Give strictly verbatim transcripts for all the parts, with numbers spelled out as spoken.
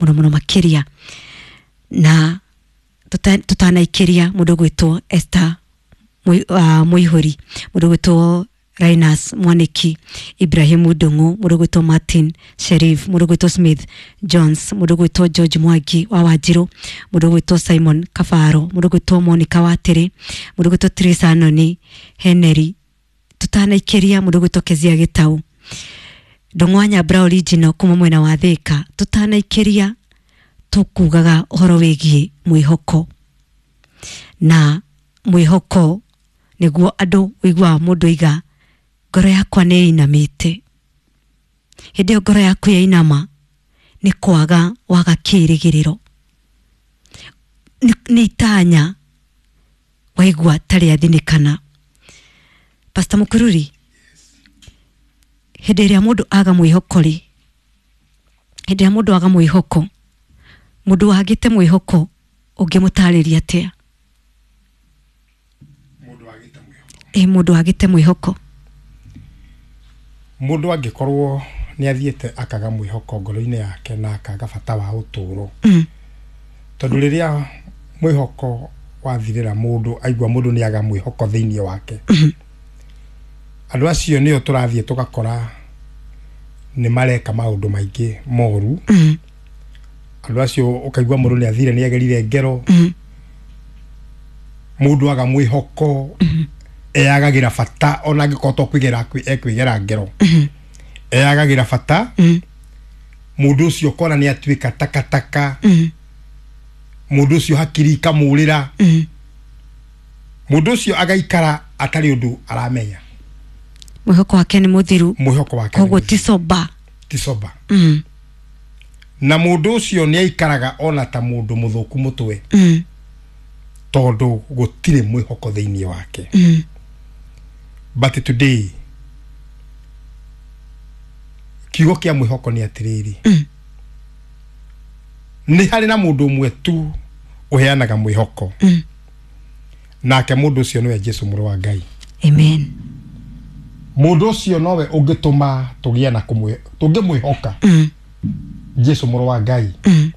Muno muno makiria na tutanaikiria mundu gwitwo Esther Muihuri, mundu gwitwo Rainas Mwaniki, Ibrahimu Ndungu, mundu gwitwo Martin Sherif, mundu gwitwo Smith Jones, mundu gwitwo George Mwangi wa Wanjiru, mundu gwitwo Simon Kafaro, mundu gwitwo Monica Watiri, mundu gwitwo Teresa Noni Henry, tutanaikiria mundu gwitwo Kezia Gitau, Ndung'wa Nyambura original kuma mwena wa Thika, tutanaikiria tukugaga uhoro wigie mwihoko na mwihoko niguo andu wigua mundu iga ngoro yakwa ni inamite. Hindi iyo ngoro yaku yainama ni kwaga waga kirigiriro, ni itanya waigua tari athinikana. Pastor Mukururi, hindi iria mundu aga mwihoko ri, hindi iria mundu aga mwihoko, mundu wagite mwihoko ungimutariria atia? Mundu wagite mwihoko, eh mundu wagite mwihoko, mundu angikorwo ni athiete akaga mwihoko ngoro-inĩ yake na akaga bata wa uturo. Mm. Tondu riria mwihoko wathirira mundu aigua mundu ni aga mwihoko thiini wake. Mm -hmm. Andu acio nio turathie tugakora ni mareka maundu maingi moru. Mm. Andu acio ukaigua mundu ni athire ni agerire ngero. Mm. Mundu aga mwihoko mm -hmm. eyagagira bata ona angikorwo to kwigera ekwigera ngero. Mm -hmm. Eyagagira bata. Mm. Mundu ucio ukona ni atuika takataka. Mm. Mundu ucio hakiri ikamurira. Mm. Mundu ucio agaikara atari undu aramenya. Mwihoko wake ni muthiru, mwihoko wake koguo ti soba, ti soba. Mm. Na mundu ucio ni aikaraga ona ta mundu muthuku mutwe. Mm. Tondu gutire mwihoko thiini wake. Mm. But today kiugo kia mwihoko ni atiriri. Mm. Ni hari na mundu umwe tu uheanaga mwihoko. Mm. Nake mundu ucio niwe Jesu mũrũ wa Ngai. Amen. Mundu ucio nowe ungituma tugie na kumwe tungimwihoka. Mm. Jesu mũrũ wa Ngai. Mm.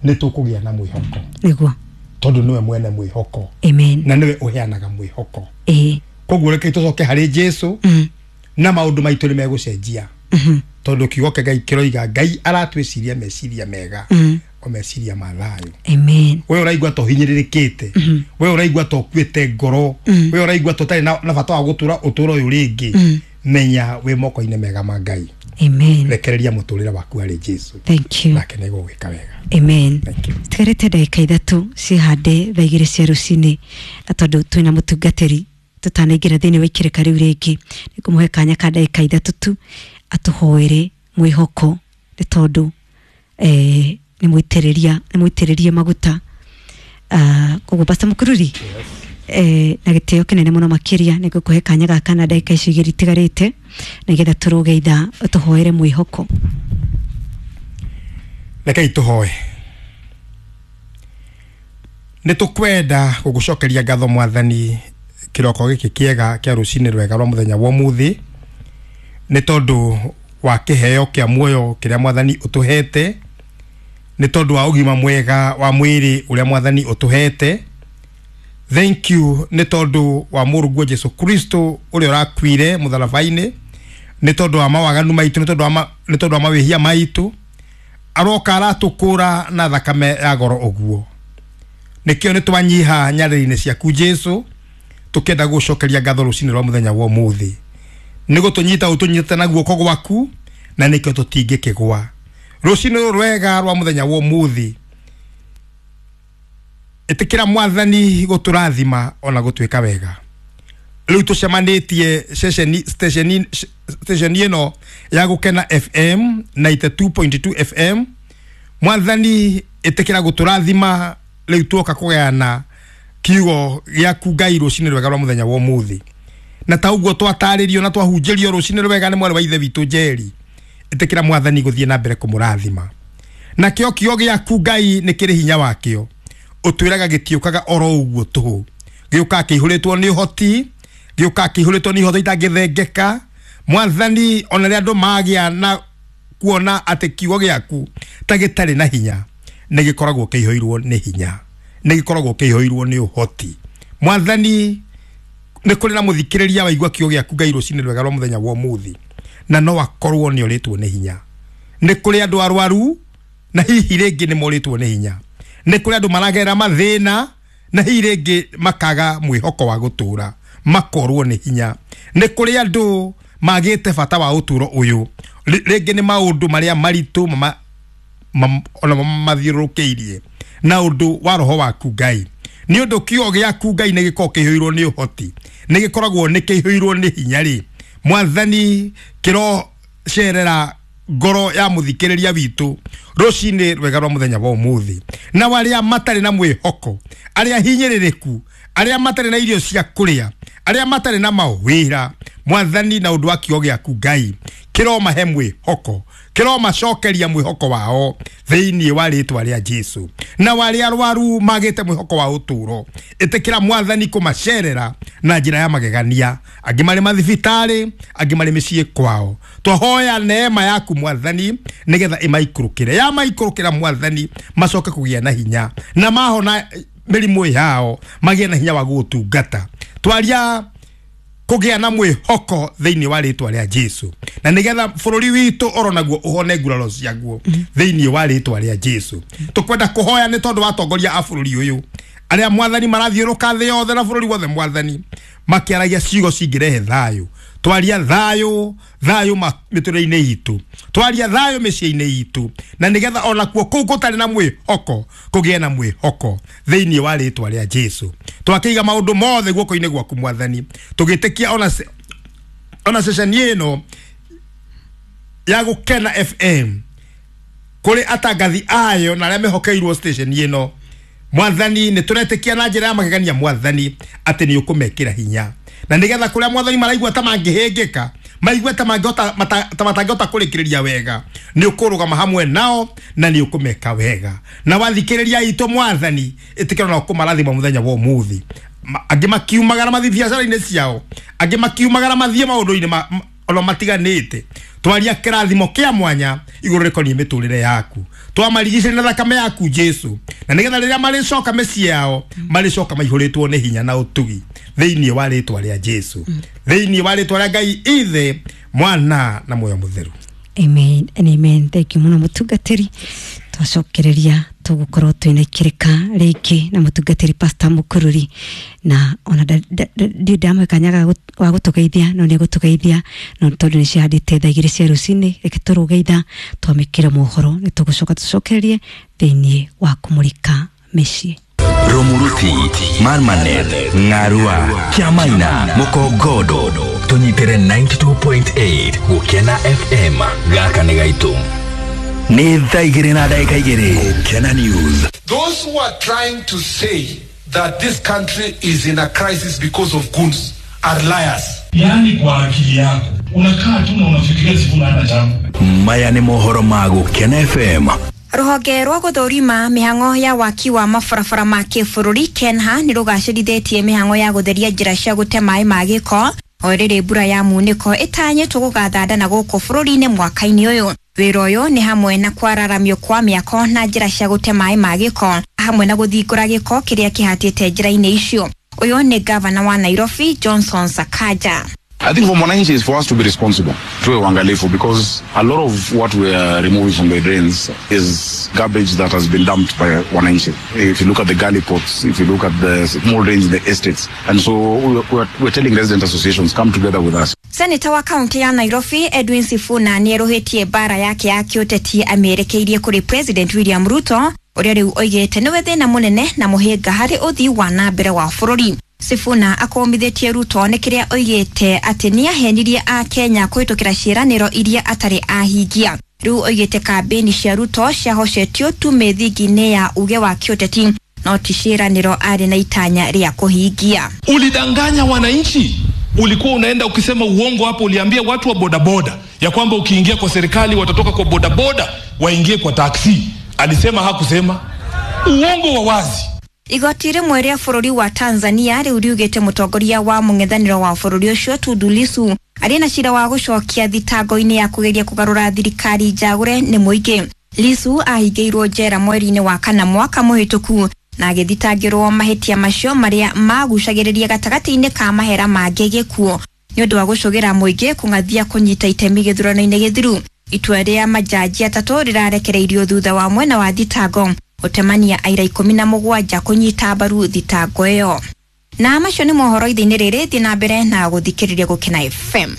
Ni tukugia na mwihoko. Niguo. Tondu niwe mwene mwihoko. Amen. Na niwe uheanaga mwihoko. Eh. Koguo reke tucoke hari Jesu. Mm. Na maundu maitu ni megucenjia. Mm -hmm. Tondu kiugo kia Ngai kiroiga Ngai aratwiciria meciria mega. Mm. O meciria ma thayo. Amen. We uraigua to hinyirĩrĩkĩte. Mm -hmm. We uraigua to kuĩte ngoro. Mm. We uraigua to tari na, na bata wa gutura uturo uyu ringi. Mm. Menya wi moko-inĩ mega ma Ngai. Amen. Rekereria muturire waku hari Jesu. Thank you. Nake nĩgũgwĩka wega. Amen. Thank you. Tigarĩte ndagĩka ithatũ cihande thaa igĩrĩ cia rũcinĩ, na tondũ twĩna mũtungatĩri tutanaingĩra thĩinĩ wa ikĩrĩka rĩu rĩngĩ, nĩngũmũhe kanya ka ndagĩka ithatũ tu atũhoere mwĩhoko, nĩ tondũ eh, nĩ mũitĩrĩria, nĩ mũitĩrĩrie maguta. Uh, koguo Pastor Mukururi, yes. Eh, na gĩtĩo kĩnene mũno makĩria nĩngũkũhe kanya gaka na ndagĩka icio igĩrĩ itigarĩte nĩgetha tũrũge ithaa ũtũhoere mwĩhoko. Rekei tũhoe. Nĩ tũkwenda gũgũcokeria ngatho Mwathani kĩroko gĩkĩ kĩega kĩa rũcinĩ rwega rwa mũthenya wa ũmũthĩ, nĩ tondũ wa kĩheo kĩa muoyo kĩrĩa Mwathani ũtũhete, nĩ tondũ wa ũgima mwega wa mwĩrĩ ũrĩa Mwathani ũtũhete. Thank you nĩ tondũ wa mũrũguo Jesu Kristo ũrĩa ũrakuire mũtharaba-inĩ, nĩ tondũ wa mawaganu maitũ, nĩ tondũ wa nĩ tondũ wa mawĩhia maitũ, aroka aratũkũra na thakame ya goro ũguo. Nĩkĩo nĩ twanyiha nyarĩrĩ-inĩ ciaku Jesu, tukenda gũcokeria ngatho rũcinĩ rwa mũthenya wa ũmũthĩ. Nĩ gũtũnyita ũtũnyitĩte na guoko gwaku, na nĩkĩo tũtingĩkĩgwa. Rũcinĩ rũrũ rwega rwa mũthenya wa ũmũthĩ, ĩtĩkĩra Mwathani gũtũrathima ona gũtuĩka wega. Rĩu tũcemanĩtie ceceni stesheni stesheni ĩno ya Gũkena F M ninety two point two F M. Mwathani ĩtĩkĩra gũtũrathima rĩu tuoka kũgayana kiugo gĩaku Ngai rũcinĩ rwega rwa mũthenya wa ũmũthĩ. Na ta ũguo twatarĩrio na twahunjĩrio rũcinĩ rwega nĩ mwarĩ wa ithe witũ Njeri, ĩtĩkĩra Mwathani gũthiĩ na mbere kũmũrathima. Nakĩo kiugo gĩaku Ngai nĩ kĩrĩ hinya wakĩo, ũtwĩraga gĩtiũkaga oro ũguo tũhũ, gĩũkaga kĩihũrĩtwo nĩ ũhoti, gĩũkaga kĩihũrĩtwo nĩ ihoto itangĩthengeka. Mwathani ona rĩrĩa andũ magĩa na Kuona atĩ kiugo gĩaku ta gĩtarĩ na hinya, nĩ gĩkoragwo kĩihũirwo nĩ hinya, nĩ gĩkoragwo kĩihũirwo nĩ ũhoti. Mwathani, nĩ kũrĩ na mũthikĩrĩria waigua kiugo gĩaku Ngai rũcinĩ rwega rwa mũthenya wa ũmũthĩ, na no akorwo nĩ orĩtwo nĩ hinya. Nĩ kũrĩ andũ arwaru na hihi rĩngĩ nĩ morĩtwo nĩ hinya. Nĩ kũrĩ andũ maragera mathĩna na hihi rĩngĩ makaga mwĩhoko wa gũtũra, makorwo nĩ hinya. Nĩ kũrĩ andũ magĩte bata wa ũtũro ũyũ, rĩngĩ nĩ maũndũ marĩa maritũ mama, mam, ona mathiũrũrũkĩirie na ũndũ wa roho waku Ngai. Nĩ ũndũ kiugo gĩaku Ngai nĩ gĩkoragwo kĩihũirwo nĩ ũhoti, nĩ gĩkoragwo nĩ kĩihũirwo nĩ hinya rĩ. Mwathani, kĩrocerera ngoro ya mũthikĩrĩria witũ rũcinĩ rwega rwa mũthenya wa ũmũthĩ, na arĩa matarĩ na mwĩhoko, arĩa hinyĩrĩrĩku, arĩa matarĩ na irio cia kũrĩa, arĩa matarĩ na mawĩra, Mwathani, na ũndũ wa kiugo gĩaku Ngai kĩromahe mwĩhoko, kĩromacokeria mwĩhoko wao thĩinĩ wa rĩtwa rĩa Jesu. Na arĩa arwaru magĩte mwĩhoko wa ũtũro, ĩtĩkĩra Mwathani kũmacerera na njĩra ya magegania, angĩ marĩ mathibitarĩ, angĩ marĩ mĩciĩ kwao. Twahoya neema yaku Mwathani nĩgetha ĩmaikũrũkĩre, yamaikũrũkĩra Mwathani macoke kũgĩa na hinya, na mahona mĩrimũ yao magĩe na hinya wa gũgũtungata. Twaria kũgĩa na mwĩhoko thĩinĩ wa rĩtwa rĩa Jesu, na nĩgetha bũrũri witũ oronaguo ũhone nguraro ciaguo thĩinĩ wa rĩtwa rĩa Jesu. Tũkwenda kũhoya nĩ tondũ wa atongoria a bũrũri ũyũ arĩa Mwathani marathiũrũka thĩ yothe na bũrũri wothe Mwathani, makĩaragia ciugo cingĩrehe thayũ. Twaria thayũ, thayũ mĩtũrĩre-inĩ itũ, twaria thayũ mĩciĩ-inĩ itũ, na nĩgetha onakuo kũu gũtarĩ na mwĩhoko kũgĩe na mwĩhoko thĩinĩ wa rĩtwa rĩa Jesu. Twakĩiga maũndũ mothe guoko-inĩ gwaku Mwathani, tũgĩtĩkia ona ona ceceni ĩno ya Gũkena F M kũrĩ atangathi ayo na arĩa mehokeirwo station ĩno. Mwathani, nĩ tũretĩkia na njĩra ya magegania Mwathani atĩ nĩ ũkũmekĩra hinya, na nĩgetha kũrĩa Mwathani maraigua ta mangĩhĩngĩka, maigue ta mangĩhota ta matangĩhota kũrĩkĩrĩria wega, nĩ ũkũrũgama hamwe nao na nĩ ũkũmeka wega. Na wathikĩrĩria itũ Mwathani, ĩtĩkĩra na ũkũmarathima mũthenya wa ũmũthĩ. Angĩ makiumagara mathiĩ biacara-inĩ ciao, angĩ makiumagara mathiĩ maũndũ-inĩ ma ona matiganĩte. Twaria kĩrathimo kĩa mwanya igũrũ rĩkoniĩ mĩtũrĩre yaku, twamarigicĩria na thakame yaku Jesu, na nĩgetha rĩrĩa marĩcoka mĩciĩ yao marĩcoka maihũrĩtwo nĩ hinya na ũtugi thĩinĩ wa rĩtwa rĩa Jesu, thĩinĩ wa rĩtwa rĩa Ngai Ithe, Mwana na Muoyo Mũtheru. Amen and amen. Thank you mũno mũtungatĩri. Twacokereria tũgũkorwo twĩna ikĩrĩka rĩngĩ na mũtungatĩri Pastor Mũkũrũri, na ona ndiũ ndamwe kanyaga wa gũtũgeithia, no nĩ egũtũgeithia, no tondũ nĩ cihandĩte thaa igĩrĩ cia rũcinĩ, reke tũrũgeitha twamĩkĩre mohoro, nĩ tũgũcoka tũcokererie thĩinĩ wa kũmũrĩka mĩciĩ. Rumuruti, Marmanet, Ngarua, Kiamaina, Mukogodo, tũnyitĩre ninety-two point eight Gũkena F M, gaka nĩ gaitũ. Nĩ thaa igĩrĩ na ndagĩka igĩrĩ. Gũkena News. Those who are trying to say that this country is in a crisis because of goons are liars. Yaani kwa akili yako unakaa tu na unafikiria Sifuna hana jambo. Maya nĩ mohoro ma Gũkena F M. Rũhonge rwa gũthũrima mĩhang'o ya waki wa mabarabara ma kĩbũrũri KENHA nĩ rũgacĩrithĩtie mĩhang'o ya gũtheria njĩra cia gũte maĩ ma gĩko o rĩrĩ mbura ya munĩko ĩtanyĩtwo gũgathanda na gũkũ bũrũri-inĩ mwaka-inĩ ũyũ. Wĩra ũyũ nĩ hamwe na kwararamio kwa mĩako na njĩra cia gũte maĩ ma gĩko hamwe na gũthingũra gĩko kĩrĩa kĩhatĩte njĩra-inĩ icio. Ũyũ nĩ gavana wa Nairobi Johnson Sakaja. I think for Mwananchi is for us to be responsible, tuwe uangalifu, because a lot of what we are removing from the drains is garbage that has been dumped by Wananchi. If you look at the gully pots, if you look at the small drains in the estates, and so we are, we are telling resident associations, come together with us. Senator wa kaunti ya Nairobi Edwin Sifuna nĩerũhĩtie mbara yake ya kĩũteti amĩerekeirie kũrĩ President William Ruto ũrĩa rĩu oigĩte nĩwe thĩna mũnene na mũhĩnga harĩ ũthii wa na mbere wa bũrũri. Sifuna akomithĩtie Ruto nĩ kĩrĩa oigĩte atĩ nĩahenirie a Kenya kũhĩtũkĩra ciĩranĩro iria atarĩ ahingia. Rĩu oigĩte kambĩni cia Ruto ciahocetio tu mĩthingi-inĩ ya uge wa kĩũteti no ti ciĩranĩro arĩ na itanya rĩa kũhingia. Ulidanganya wananchi. Ulikuwa unaenda ukisema uongo hapo, uliambia watu wa bodaboda ya kwamba ukiingia kwa serikali watatoka kwa bodaboda waingie kwa taksi. Alisema hakusema? Uongo wa wazi. Igoti rĩmwe rĩa bũrũri wa Tanzania rĩu riugĩte mũtongoria wa mũng'ethanĩro wa bũrũri ũcio Tundu Lissu Arĩ na cira wa gũcokia thitango-inĩ ya kũgeria kũgarũra thirikari njagũre nĩ mũingĩ. Lissu ahingĩirwo njera mweri-inĩ wa kana mwaka mũhĩtũku na agĩthitangĩrwo mahĩtia macio marĩa magucagĩrĩria gatagatĩ-inĩ ka mahera mangĩ gĩkuũ nĩ ũndũ wa gũcũgĩra mũingĩ kũng'athia kũnyita itemi gĩthurano-inĩ gĩthiru. Itua rĩa majaji atatũ rĩrarekereirio thutha wa mwena wa thitango gũtemania aira ikũmi na mũgwanja kũnyita mbaru thitango ĩyo. Na macio nĩ mohoro ithe-inĩ rĩrĩ, thiĩ na mbere na gũthikĩrĩria Gũkena F M.